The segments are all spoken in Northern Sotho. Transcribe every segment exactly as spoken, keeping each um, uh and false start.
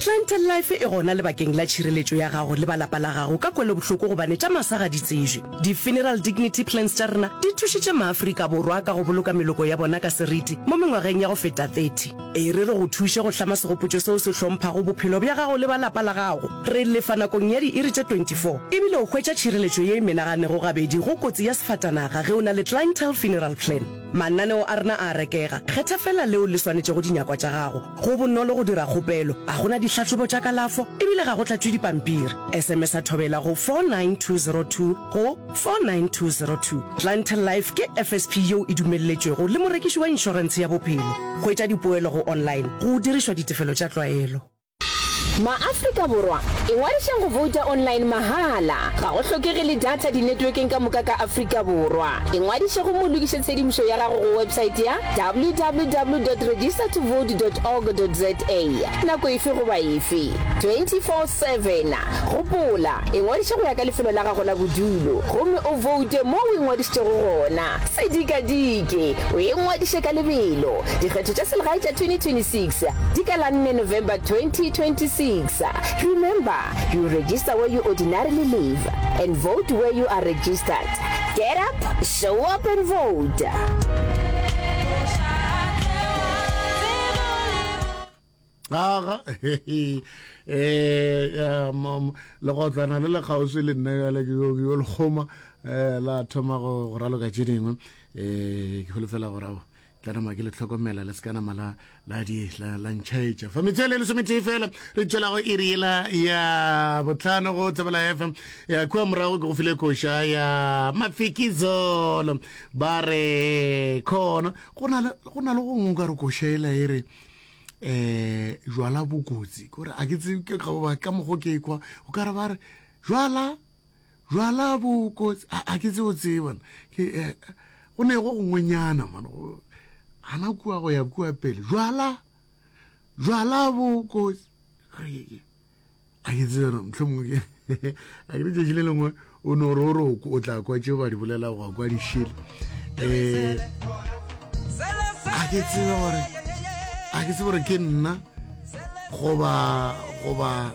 Clientele Life e gona lebakeng la tšhireletšo ya gago le ba lapa la gago ka kwelobohloko gobane tša masa ga di tsejwe. Di-funeral dignity plans tša rena di thušitše maAfrika Borwa ka go boloka meloko ya bona ka seriti mo mengwageng ya go feta thirty. E re re go thuše go hlama segopotšo seo se hlomphago bophelo bja gago le ba lapa la gago. Re lefa nakong ya diiri tše twenty four ebile o hwetša tšhireletšo ye e menaganego gabedi go kotsi ya sefatanaga ge o na le Clientele Funeral Plan. Mananeo a rena a a rekega, kgetha feela leo le swanetšego dinyakwa tša gago. Go bonolo go dira kgopelo, ga go na dihlahlobo tša kalafo ebile ga go tlatšwe dipampiri. S M S a Thobela go four nine two zero two go four nine two zero two. Clientele Life ke F S P yeo e dumelletšwego le morekiši wa inšorentshe ya bophelo. Hwetša dipoelo go online go dirišwa ditefelo tša tlwaelo. MaAfrika Borwa, ingwadišeng go vouta online mahala. Ga go hlokege le data dinetwekeng ka moka ka Afrika Borwa. Ingwadiše gomme o lokiše tshedimošo ya gago go website ya W W W dot register to vote dot org dot za nako efe goba efe, twenty four seven. Gopola, ingwadiše go ya ka lefelo la gago la bodulo gomme o voute mo o ingwadišitšego gona. Se dikadike, o ingwadiše ka lebelo. Dikgetho tša selegae tša twenty twenty six di ka la nne November twenty twenty six. Remember, you register where you ordinarily live and vote where you are registered. Get up, show up and vote. Aga eh legotlwana le le kgauswi le nna jale ke yo le kgoma um la thoma go raloka tše dingwe. um ke holofela gore ao tla nama ke le tlhokomela le se ka nama la la di la la ntšhaetša fa metswele e lesometee fela re tšwelago iri yela ya botlhano go Thobela F M. Ya kua morago ke go file koša ya Mafikizolo, ba re khona go na le go na le gongwe ka re koša ela e re um jwala bokotsi kore a ke tsebe ke goba ka mokgo ke kwa o ka re ba re jwala jwala bokotsi, a ke tsebe o tsebana ke eh, go ne go gongwenyana man gana kua go ya kua pele jwala jwala bokotsi, a ke tsebe mohlomongwe ke a ke letšatši le lengwe o no re o re o tla kwa tšeo ba di bolela go kwa dišele. um a ke tsebe gore a ke tsebe gore ke nna goba goba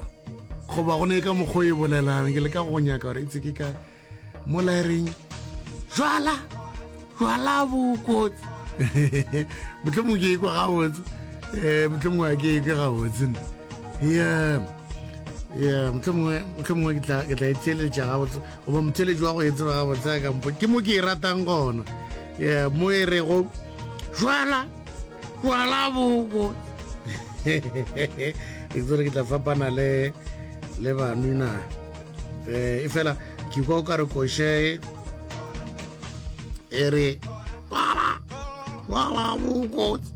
goba go ne ka mokgwa e bolelang. Ke le ka go nyaka gore e tse ke ka mola e reng jwala jwala bokotsi. Mohlomongwe ke ekwa gabotse, um mohlomongwe a ke ekwe gabotse nna. Yeah yeah mohlomongwe mohlomongwe ke tla ke tla e theeletša gabotse goba motheeletši wa go e tseba gabotse a kampo ke mo ke e ratang gona. Yeah, mo e rego jwala jwala bokotsi, ke tsere ke tla fapana le le banwina um e fela ke kwa o ka re koše e re jwala jwala bokotsi.